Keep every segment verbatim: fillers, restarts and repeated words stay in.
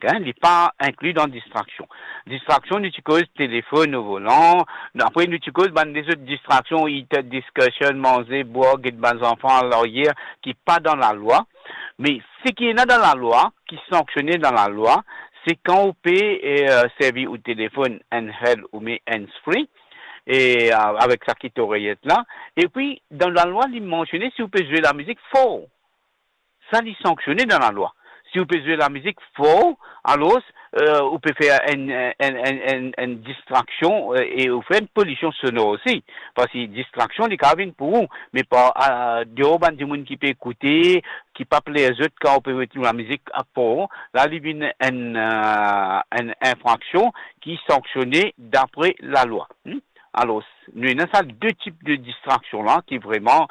Hein, li pa inkli dan distraksion. Distraksion, nou ti koz telefonn o volan, apre nou ti koz bann lezot distraksion, heated discussion, manze, bwar, get bann zanfan alaryer, ki pa dan lalwa. Me seki ena dan lalwa, ki sanksione dan lalwa, se kan ou pe, eh, servi ou telefonn handheld oubien hands-free, e, eh, avek sa kit oreyet la. Epi, dan lalwa, li mansione si ou pe zwe lamizik for. Sa, li sanksione dan lalwa. Si ou pe zwe lamizik for, alor, eh, ou pe fer enn, enn, enn, enn, enn distraksion, eh, e ou fer enn polision sonor osi. Parski distraksion, li kapav vinn pou ou, me par, eh, deor bann dimoun ki pe ekoute, ki pa pler zot kan ou pe met lamizik for, la, li vinn enn, eh, enn infraksion ki sanksione dapre lalwa. Hmm? Alor, nou ena sa de tip de distraksion la ki vreman,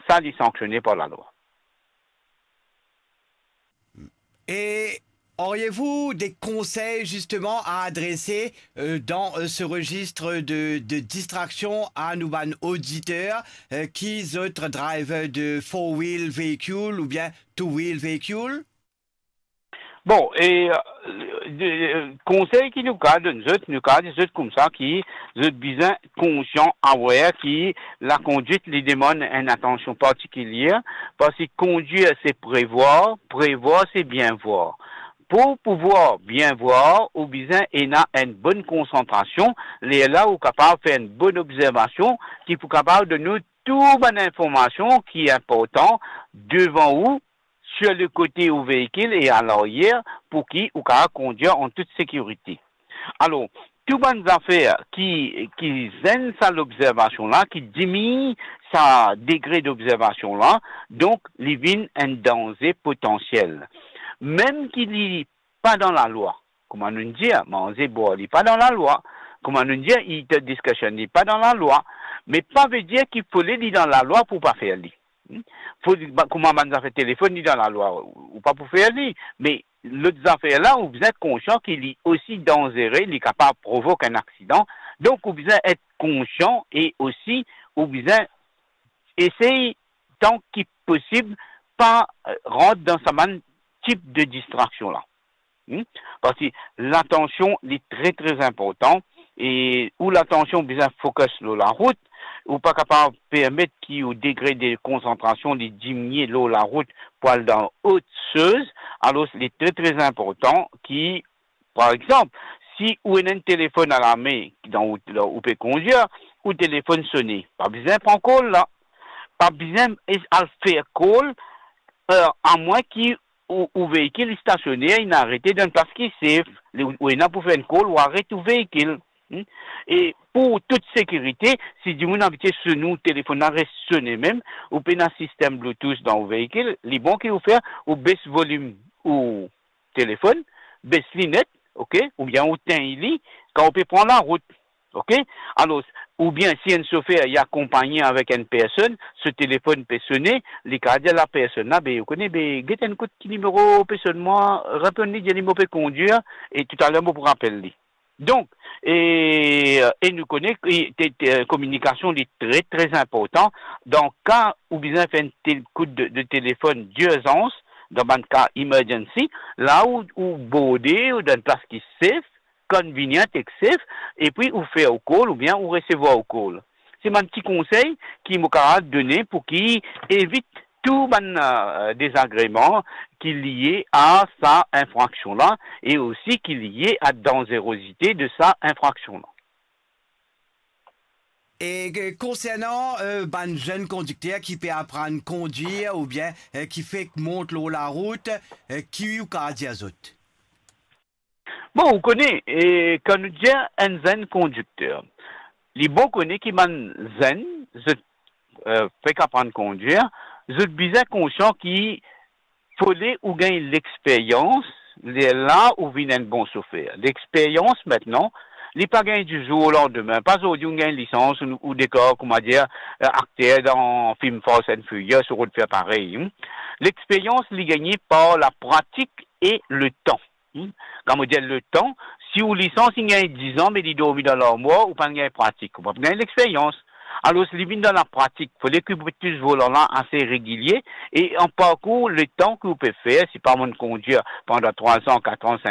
sa, li sanksione par lalwa. Et auriez-vous des conseils justement à adresser euh, dans euh, ce registre de, de distraction à nos bann auditeurs euh, qui zot driver de four-wheel véhicule ou bien two-wheel véhicule? Bon, e, eh, de, eh, konsey ki nou kapav donn zot, nou kapav dir zot koumsa ki zot bizin konsian, aware ki lakondwit li demann enn atansion partikilie, parski kondwir se prevwar, prevwar se bien vwar. Pou pouvwar bien vwar, ou bizin ena enn bonn konsantrasion, lerla ou kapav fer enn bonn obzervasion ki pou kapav donn ou tou bann informasion ki inportan devan ou, sir le kote ou veikil e alaryer, pou ki ou kapav kondwir an tout sekirite. Alor, tou bann zafer ki, ki zenn sa lobzervasion la, ki diminn sa degre dobzervasion la, donk li vinn enn danze potansiel. Mem ki li pa dan lalwa, kouma nou dir, manze bwar, li pa dan lalwa, kouma nou dir, heated discussion, li pa dan lalwa, me pa vedir ki fode li dan lalwa pou pa fer li. Hmm? Fode, ba, kouma bann zafer telefonn, li dan lalwa, ou pa pou fer li, me lot zafer la, ou bizin konsian ki li osi danzere, li kapav provok enn aksidan, donk ou bizin et konsian e osi ou bizin esey tan ki posib pa, eh, rant dan sa bann tip de distraksion la. Hmm? Parski latansion, li tre, tre inportan, e ou latansion bizin focus lor larout, ou pa kapav permet ki ou degre de konsantrasion li diminie lor larout pou al dan ot soz, alor li tre, tre inportan ki, par exanp, si ou ena enn telefonn alame dan ou, ou pe kondwir, ou telefonn sone, pa bizin pran call la, pa bizin es-, al fer call, eh, amwin ki ou, ou veikil stasione, inn arete dan enn plas ki safe, li, ou ena pou fer enn call, ou aret ou veikil. Hmm? E pou tou sekirite, si dimoun abitie sone ou telefonn la res sone mem, ou pena sistem Bluetooth dan ou veikil, li bon ki ou fer, ou bes volim ou telefonn, bes li net, ok, oubien ou tegn li, kan ou pe pran larout. Ok? Alor, oubien si enn sofer li akonpagne avek enn personn, so telefonn pe sone, li kapav dir lapersonn la, be, ou kone, be, get enn kout ki nimero pe sonn mwa, reponn li, dir li mo pe kondwir, e toutaler mo pou rapel li. Donk, e, e nou kone ki te, te, kominikasion li tre, tre inportan. Dan ka ou bizin fer enn tel kout de, de telefonn dirzans, dan bann ka emergency, la ou, ou borde, ou dan enn plas ki safe, convenient ek safe, epi ou fer ou call oubien ou resevwar ou call. Se bann ti konsey ki mo kapav done pou ki evit tou bann, eh, dezagreman ki lie a sa infraksion la e osi ki lie a danzerozite de sa infraksion la. E, eh, konsernan, eh, bann zenn kondikter ki pe aprann kondwir oubien, eh, ki fek mont lor larout, eh, ki ou kapav dir zot? Bon, ou kone, e, kan nou dir enn zenn kondikter, li bon kone ki bann zenn, zot, eh, fek aprann kondwir, zot bizin konsian ki fode ou gagn lexperyans, lerla ou vinn enn bon sofer. Lexperyans, aster, li pa gagn di zour o landime. Pa zordi ou gagn lisans, ou, ou dekor, kouma dir, eh, akter dan fim Fast and Furious, ou rod fer parey, hmm. Lexperyans, li gagne par lapratik e letan. Hmm? Kan mo dir letan, si ou lisans inn gagn diz an, me li dormi dan larmwar, ou pa'nn gagn pratik, ou pa'nn gagn lexperyans. Alor, li vinn dan lapratik, fode ki ou pe tous volan la ase regilie, e an parkour, letan ki ou pe fer, si pa bann kondwir pandan trwa an, kat an,